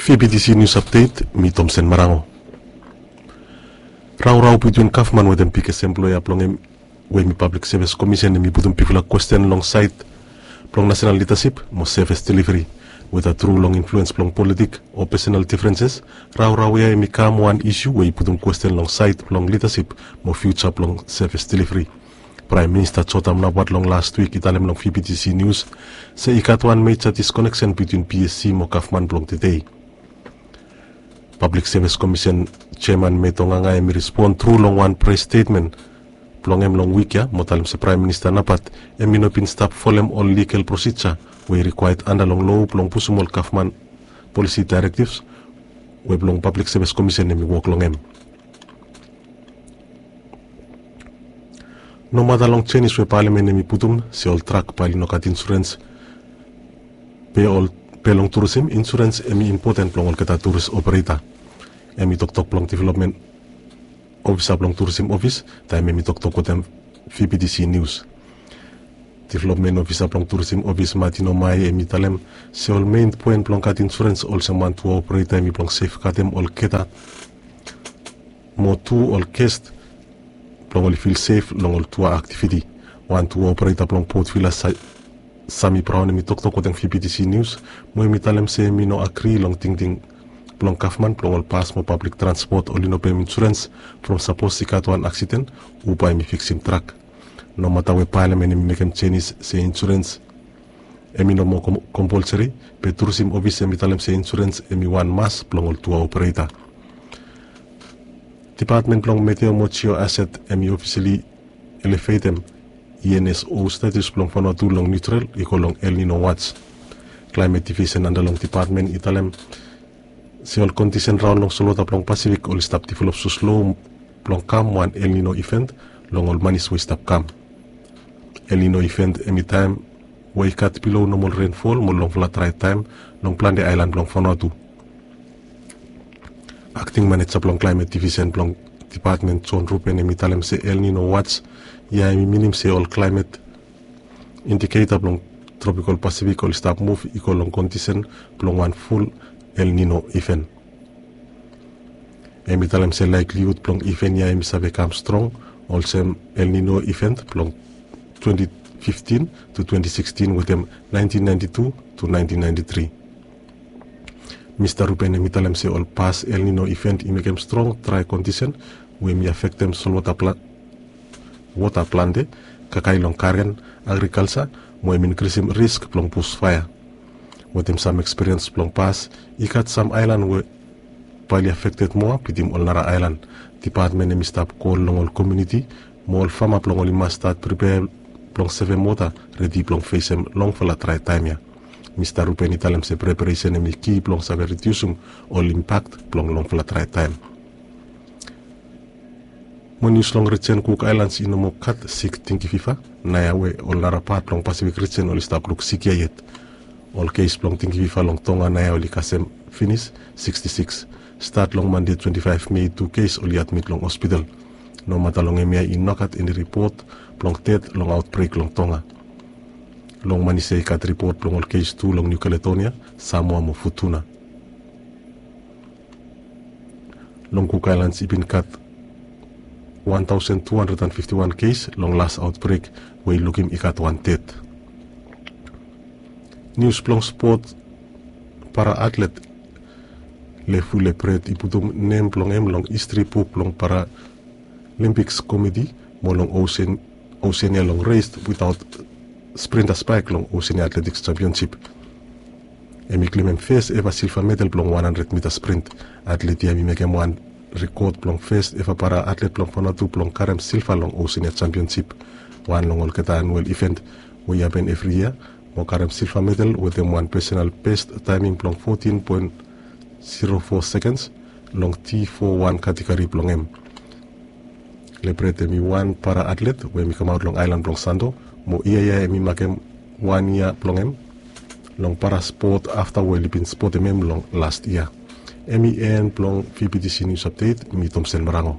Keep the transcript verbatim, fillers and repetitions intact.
Fibitisi nius apdet, mi Tomsen Marango. Raorao bitwin gavman wetem bigfala emploea blong hem, we hemi Pablik Sevis Komisen, hemi putum bigfala kwesten long saed blong nasenal lidasip mo sevis deliveri. Weda tru long influens blong politik o pesenal difrenses, raorao ia hemi kam wan isiu we i putum kwesten long saed blong lidasip mo fiuja blong sevis deliveri. Praem Minista Jotam Napat long las wik i talem long Fibitisi nius se i gat wan meja diskoneksen bitwin PSC mo gavman blong tedei. Pablik Sevis Komisen jeaman Meto Nganga hemi respon tru long wan pres stetmen blong hem long wik ia mo talem se Praem Minista Napat hemi no bin stap folem ol ligal prosija we i rikwaea anda long loa blong pusum ol gavman polisi daerektivs we blong Pablik Sevis Komisen hemi wok long hem. Nomata long jenis we palamen hemi putum se ol trak bae oli no gat insurens, be ol, be long turisim insurens hemi impoten blong olgeta turis opereta. Hemi toktok blong developmen ofisa blong turisim ofis taem hemi toktok wetem Fibitisi nius. Developmen ofisa blong turisim ofis Martin Omai hemi talem se ol mein poen blong gat insurens olsem wan tua opereta hemi blong sefgadem olgeta mo tu ol ges blong oli fil sef long ol tua aktiviti. Wan tua opereta blong Port Vila, Sami Braon, hemi toktok wetem Fibitisi nius mo hemi talem se hemi no agri long tingting blong gavman blong ol bas mo pablik transpot oli no pem insurens from sapos i gat wan aksiden, hu bae hemi fiksim trak. Nomata we palamen hemi mekem jenis se insurens hemi no moa kompolseri, be turisim ofis hemi talem se insurens hemi wan mas blong ol tua opereta. Depatmen blong Meteo mo Jio Aset hemi ofiseli elefetem ENSO status blong Vanuatu long niutral i go long El Nino watch. Klaemet divisen anda long depatmen i talem se ol kondisen raon long solwota blong Pasifik oli stap develop soslo blong kam wan El Nino iven long ol manis we i stap kam. El Nino iven hemi taem we i gat bilo nomol renfol mo longfala drae taem long plante aelan blong Vanuatu. Akting maneja blong klaemet divisen blong depatmen John Ruben hemi talem se El Nino watch ia hemi minim se ol klaemet indiketa blong tropikol Pasifik oli stap muv i go long kondisen blong wan ful El Nino iven. Hemi talem se laeklihud blong iven ia hemi save kam strong olsem El Nino iven blong twenti fiftin tu twenti sikstin wetem naentin naenti tu tu naentin naenti tri. Mista Ruben hemi talem se ol pas El Nino iven i mekem strong drae kondisen we hemi afektem solwota pla- wota plante, kakae long garen, agrikalja, mo hemi inkrisim risk blong bus faea. Wetem sam ekspiriens blong pas, i gat sam aelan we bae oli afekted moa bitim ol nara aelan. Depatmen hemi stap kol long ol komuniti mo ol fama blong oli mas stat pripea blong sevem wota redi blong fesem longfala drae taem ia. Mista Ruben i talem se preparesen hemi ki blong save rediusim ol impak blong longfala drae taem. Mo nius long rijen Kuk Aelans i no moa gat sik tingki fifa naoia we ol nara pat blong Pasifik rijen oli stap luk sik ia yet. Ol kes blong tingki fifa long Tonga naoia oli kasem finis siksti siks. Stat long Mande twenti faef Mei tu kes oli admit long hospital. Nomata long hemia i no gat eni ripot blong ded long aotbrek long Tonga. Long Manise i gat ripot blong ol kes tu long Niu Kaledonia, Samoa mo Futuna. Long Kuk Aelans i bin gat wan taosen tu handred an fifti wan kes long las aotbrek we i lukim i gat wan ded. Nius blong spot, para atlet Lefu Lepret i putum nem blong hem long histri buk blong Paralimpiks Komiti mo long Osen- Osenia long res witaot sprinta spaek long Osenia Atletiks Jampionsip. Hemi klemem fes eva silva medal blong wan handred mita sprint. Atlet ia hemi mekem wan rikod blong fes eva para atlet blong Vanuatu blong karem silva long Osenia Jampionsip, wan long olgeta anuel iven we i hapen evri yia, mo karem silva medal wetem wan pesenal bes taeming blong fotin poen zero fo sekens long T fo wan kategori blong hem. Lepret hemi wan para atlet we hemi kamaot long aelan blong Santo, mo yia ia hemi makem wan yia blong hem long para spot afta we oli bin spotem hem long las yia. Hemi en blong VBTC Nius Apdet, mi Tomsen Marango.